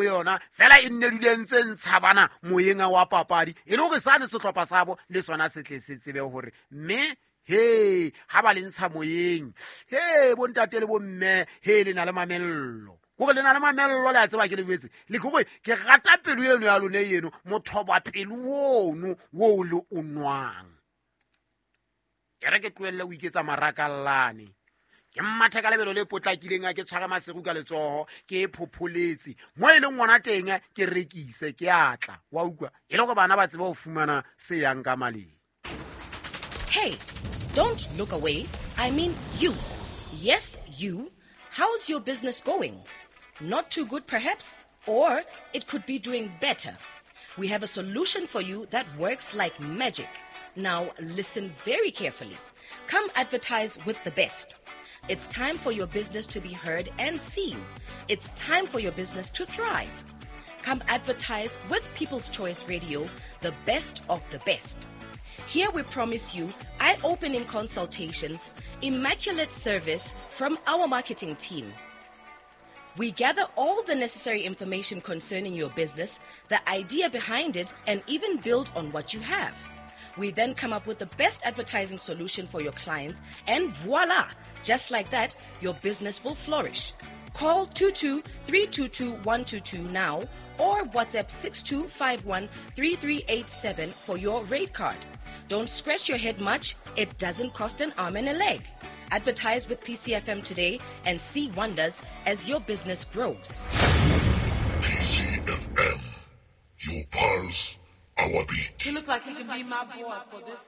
Yona fela e nne dule ntse ntshabana moyeng wa papadi, e le gore sane setlhopha sabo le sona se tle se tsebe gore mme he ga ba le ntsha moyeng. He, bontate le bomme, he, le na le mamello, kore le na le mamello, le a tseba ke le boetse le ke gore ke rata pelo eno ya lone eno, mothoba pelo ono wo le o nwang. E re ke tlohelle o iketsa marakallane, ke mmathe ka lebelo le potlakileng, a ke tshware Maseru ka letsogo, ke e phopholetse mo e leng ngwana teng, ke rekise, ke atla wa utlwa, e le gore bana ba tsebe go fumana se yang ka maleng. Hey, don't look away. I mean you. Yes, you. How's your business going? Not too good, perhaps? Or it could be doing better. We have a solution for you that works like magic. Now, listen very carefully. Come advertise with the best. It's time for your business to be heard and seen. It's time for your business to thrive. Come advertise with People's Choice Radio, the best of the best. Here we promise you eye opening consultations, immaculate service from our marketing team. We gather all the necessary information concerning your business, the idea behind it, and even build on what you have. We then come up with the best advertising solution for your clients, and voila! Just like that, your business will flourish. Call 22 322 122 now or WhatsApp 6251 3387 for your rate card. Don't scratch your head much, it doesn't cost an arm and a leg. Advertise with PCFM today and see wonders as your business grows. PCFM. Your pulse, our beat. He looked like he could be my boy for this.